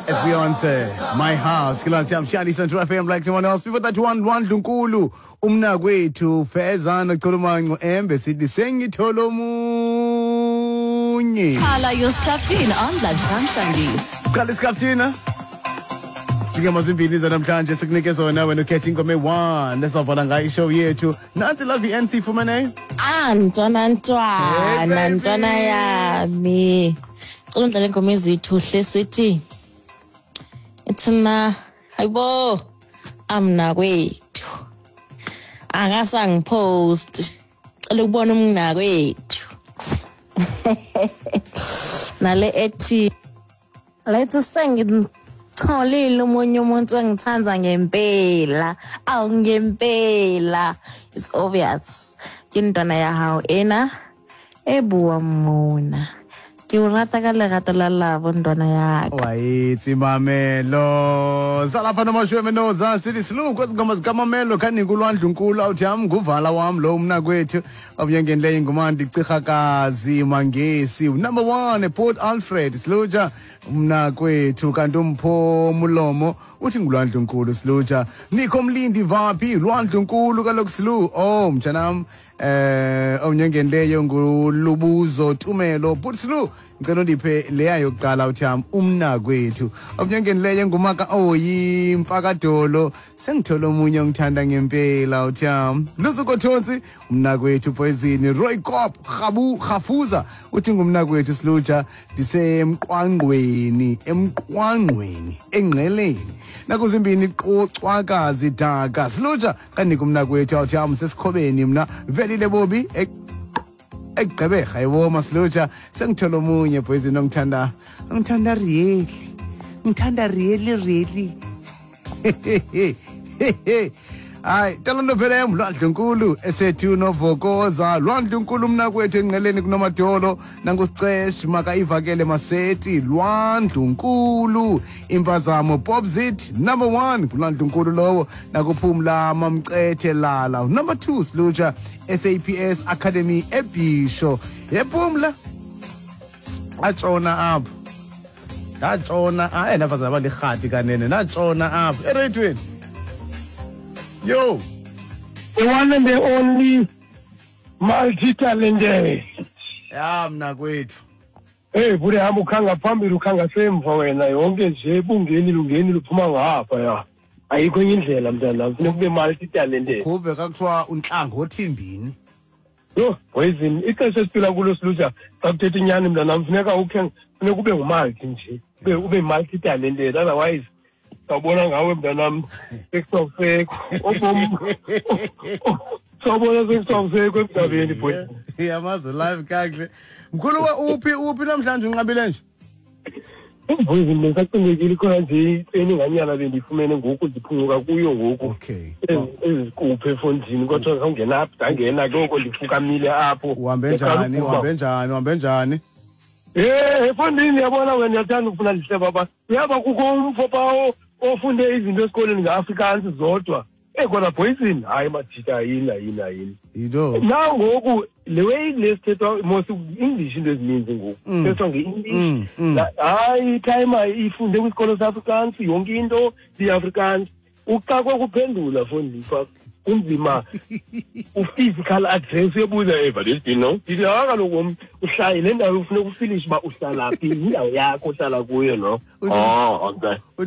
Beyonce, My House, Kilansi Amshali Central FM like someone else. Before that one, one Lunkulu, umnakwethu Fezana Chulumanco Embe sithi sengithola omunye. Khala your Skaftin on Lunchtime Shandies. Qala isikhathina. Singema zimbini zanamhlanje sikunike zona wena ukhetha ingoma eyi-1 esawuvala ngayo ishow yethu. Nansi Love NC ifumeneyo. Ah, ntwana ntwana, Hey, baby. ntwana yami. Cela undlale ingoma ezithu hle sithi. Ithina hayibo amna kwethu. Akasangipost. Cela ukubona umna kwethu. Nale ethi let's sengitholile omunye umuntu engithanda ngempela. Awu ngempela. It's obvious. Ke ntwana ya hao ena e bua mona. Ke o rata ka lerato la labo ntwana ya ka. Wayitsi Mamelo. Salapha nomashweme noza sithi silu kwezi ngoma zikaMamelo khanika ulwandle unkulu awuthi am nguvala wam lo umnakwethu omnyangenileyo ingumandi Cirhakazi Mangesi number 1 ePort Alfred Siluja umnakwethu kanti umpho mulomo uthi ngulwandle unkulu Siluja Nikho Mlindi vaphi lwandle unkulu kaloku Silu oh mtshanam omnyangenileyo ngulubuzo Tumelo but Silu ngicela undiphe leya yokuqala uthi am umnakwethu omnyangenileyo ngumaka oyi mfakadolo sengithola omunye ongithanda ngempela uthi am Luzuko Thonsi umnakwethu Poison Roy Cop Khabu Khafuza uthi ngumnakwethu Siluja ndisemqwangqweni emqwangqweni engqeleni nakuzimbini qocwakazi daka Siluja kanika umnakwethu awuthi am sesikhobeni mna velile bobi ekugqeberha yebo Siluja sengithola omunye Poison ongithanda ngithanda really ngithanda really really hayi talento phela lwandle nkulu esethu novokoza lwandle nkulu mnakwethu engqeleni kunomadolo nangusicesh makaivakele maseti lwandlu nkulu impazamo Popzit number 1 kulwandlu nkulu lowo nakuphumla mamcethe lala number 2 Siluja SAPS Academy eBhisho yephumla atshona apho ndatshona hayi ndafazana balirhati kanene natshona apho ereyithweni yo. The one and the only multi-talented. Ya mna kwethu. Hey, bude hamba ukhanga phambili ukhanga semva wena yonke nje bungeni lungeni luphuma ngapha ya. Ayikho enye indlela mntanami, funeka ube multi-talented. Kuve kakuthiwa untlangothimbini. Yho, poison ixesha esiphila kulo Siluja xa kuthetha inyani mntanami funeka ukhe funeka ube ngumulti nje. Ube multi-talented otherwise sawubona ngawe mntanami sekusakusekho. Obomi sawubona sekusakusekho emhlabeni boy. Yamazi live kakuhle. Mkhulu uphi namhlanje unqabile nje? Poison bengisacingekile khona nje itseni nganyana bendifumene ngoku ndiphunguka kuyo ngoku. Okay. Ezikuphe efondini kodwa sawungena apha ndangena ke oko ndifukamile apho. Uhambe njani? Uhambe njani? Uhambe njani? Efondini yabona wena uyathanda ukufuna lihle baba. Uyaba kukho umfo pha ofunde izinto esikoleni ngeAfrikaans zodwa. Kodwa poison hayi majita yini. Yinto. Nangoku le way lesithethwa mos English into ezininzi ngoku. Sithethwa ngeEnglish. Hayi timer ifunde kwisikolo seAfrikaans yonke into iAfrikaans. Uxakwe kuphendula fondini pha. Kunzima u-physical address uyebuza eva lesino. Ndithi kaloku uhlala le ndawo ufuna ukufinish uba uhlala phi, indawo yakho ohlala kuyo no. Oh, okay.